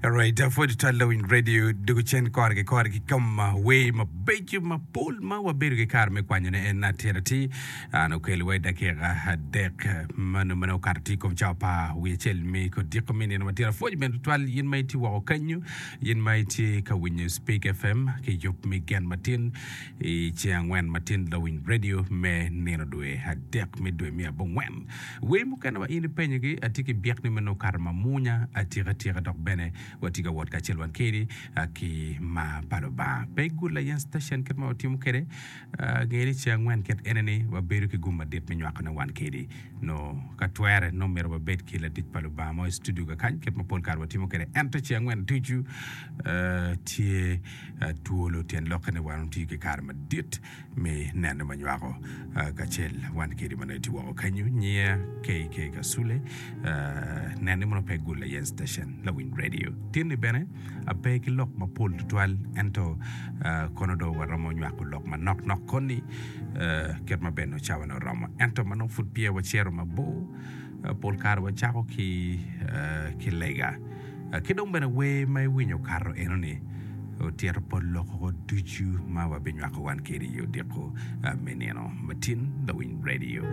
Alright, apwoyo tutwal lawiny radio dugu cen kore ki kore ki kom wer mabeco mapol ma wabedo ki kare me kwanyone en atir atir. An okelo wa i dakika adek mano ma nongo okato tye i kom cawa pa wiye acel me kodiko me nino matin. Apwoyo bene tutwal in ma itye woko kenyo, in ma itye ka winyo Speak FM ki yub me gen matin i ceng angwen matin lawiny radio me nino dwe adek me dwe me abongwen. Wer mukene ma in ipenyogi atye ki byek ni meno okato mamwonya atika tika dok bene watye ka wot kacel wan kedi ki mar pa Lubanga. Pe igul layen station kit ma watimo kwede. Nge ni ceng angwen kit ene ni wabedo ki gum madit me nywakone wan kedi. Nongo ka twere nongo myero wabed ki latic pa Lubanga mo i studio kakany kit ma pol kare watimo kwede. Ento ceng angwen ducu tye twolo tyen lokke ni wan watiyo ki kare madit me neno ma nywako kacel wan kedi ma nongo itye woko kenyo. Nyiya KK Kasule nen ni mono pe gul ayen station lawiny radio. Tinni bene ape ki lok mapol tutwal ento kono do waromo nywako lok manok nok koni kit ma bene cawa ne oromo. Ento ma nongo pud peya wacito mabor pol kare wacako ki ki lega. Ki dong bene wer ma iwinyo okato enoni otito pol lok ducu ma wabinywako wan kedi i odiko me nino matin lawiny radio.